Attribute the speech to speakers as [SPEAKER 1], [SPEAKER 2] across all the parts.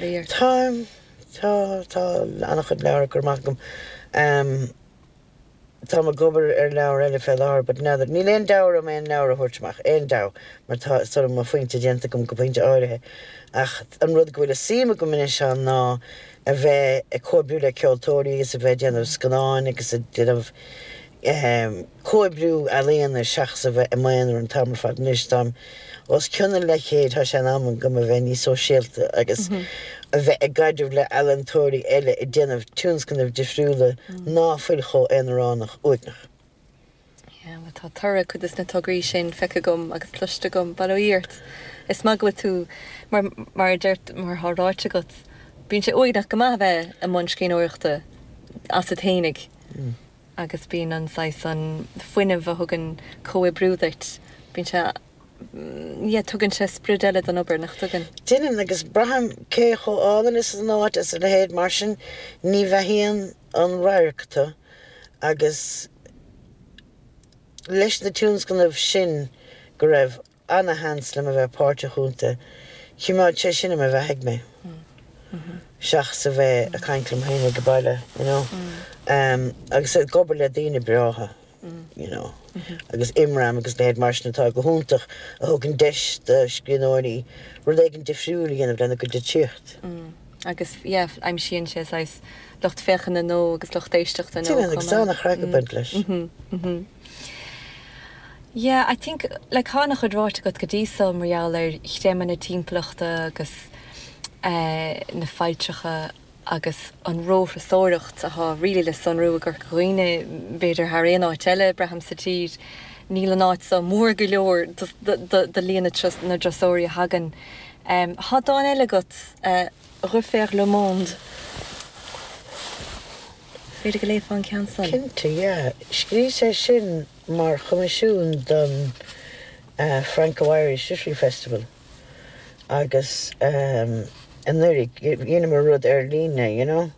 [SPEAKER 1] Táim, tá, tá an-chuid leabhar curtha amach agam. Táim ag obair ar leabhar eile fé láthair but n'fheadar, níl aon deabhadh orm aon leabhar a thabhairt amach, aon deabhadh, mar tá sort of mo phointe déanta agam go pointe áirithe. Ach an rud go bhfuil suim agam anois ann ná a bheith ag comhoibriú le ceoltóirí agus a bheith ag déanamh scannáin agus ag déanamh comhoibriú ealaíona seachas a bheith i m'aonar an t-am ar fad anois. Táim os cionn an leathchéid, tá sé in am agam a bheith níos sóisialta agus a bheith i gcaidreamh le ealaíontóirí eile ag déanamh tionscnaimh difriúla ná fuil chomh aonaránach uaigneach.
[SPEAKER 2] Yeah, bhuel tá toradh cuid de na tograí sin feicthe agam agus cloiste agam, bail ó Dhia ort. Is maith go bhfuil tú, mar, mar a deir, mar atá ráite agat, bíonn sé uaigneach go maith a bheith i mbun scríbhneoireachta asat fhéinig. Agus bíonn an saghas, an fuinneamh a thugann comhoibriú duit, bíonn sé, yeah, tugann sé sprid eile don obair, nach dtugann?
[SPEAKER 1] Déanann, agus braithim cé chomh álainn is an áit is a leithéid mar sin, ní bheathaíonn an radharc tú agus leis na tionscnaimh sin go raibh ana-sheans liom a bheith páirteach iontu. Choimeád sé sin i mo bheathaigh mé, seachas a bheith ag caint liom féin ag baile, you know, agus ag obair le daoine breátha, you know, agus Imram agus leithéid mar sin atá go hiontach, a thugann deis do scríbhneoirí rud éigin difriúil a dhéanamh lena gcuid litríocht.
[SPEAKER 2] Agus, yeah, aimsíonn sé saghas lucht féachana nua agus lucht éisteachta nua chomh maith.
[SPEAKER 1] Déanann, agus tá ana-chraic ag baint leis.
[SPEAKER 2] Yeah, I think, like tá an-chuid ráite agat go dtí so mar gheall ar chreimeadh na timpeallachta agus eh na failltreacha agus an róthurasóireacht atá really le sonrú i gCorca Dhuibhne, b'fhéidir thar aon áit eile, braithim, sa tír. Níl an áit so mór go leor do líon na dturasóirí a thagann. Tá dán eile agat, eh Refaire le monde. B'fhéidir go léifeá an ceann san?
[SPEAKER 1] Cinnte, yeah. Scríos é sin mar choimisiún don Franco-Irish Literary Festival agus anuraidh dheineamar rud ar líne, you know,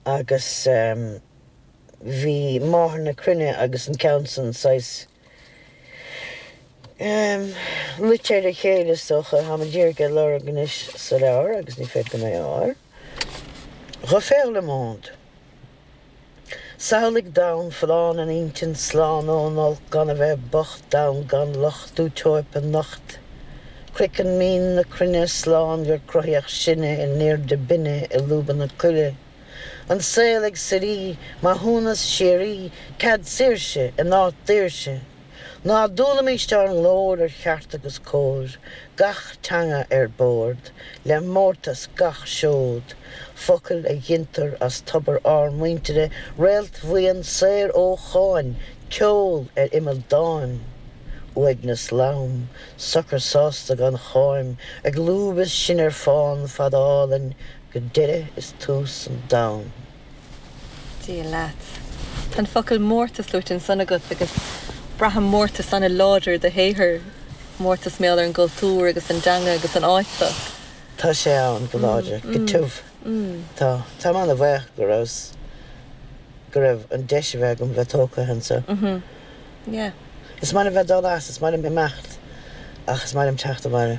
[SPEAKER 1] agus bhí Máthair na Cruinne agus an ceann san saghas luite ar a chéile is dócha. Táim díreach ag lorg anois sa leabhar agus ní féidir liom é a fháil. Refaire le monde. Samhlaigh domhan folláin in intinn, slán ón olc, gan a bheith bocht, domhan gan locht, útóipe nocht. Craiceann mín na cruinne slán gur cruthaíodh sinne in airde binne i lúbanna coille. An saol ag suirí, maithiúnas síoraí, cead saoirse in áit daoirse. Ná dúnaimis ár nglór ar cheart agus cóir, gach teanga ar bord, le mórtas gach seod, focail a ghintear as tobar ár muintire, réaltbhuíon saor ó cháin, ceol ar imeall dáin. Uaigneas lom, socair sásta gan cháim, ag lúb is sinn ar fán fada álainn go deireadh is tús an domhain.
[SPEAKER 2] Dia leat. Tá an focal mórtas luaite ansan agat agus braithim mórtas an-láidir i do shaothar, mórtas mar gheall ar an gcultúr agus an dteanga agus an áit seo.
[SPEAKER 1] Tá sé ann go láidir, go tiubh. Tá. Táim an-bhuíoch go raibh, go raibh an deis a bheith agam bheith tógtha anseo.
[SPEAKER 2] Yeah.
[SPEAKER 1] Is maith liom bheith ag dul as, is maith liom imeacht ach is maith liom teacht abhaile.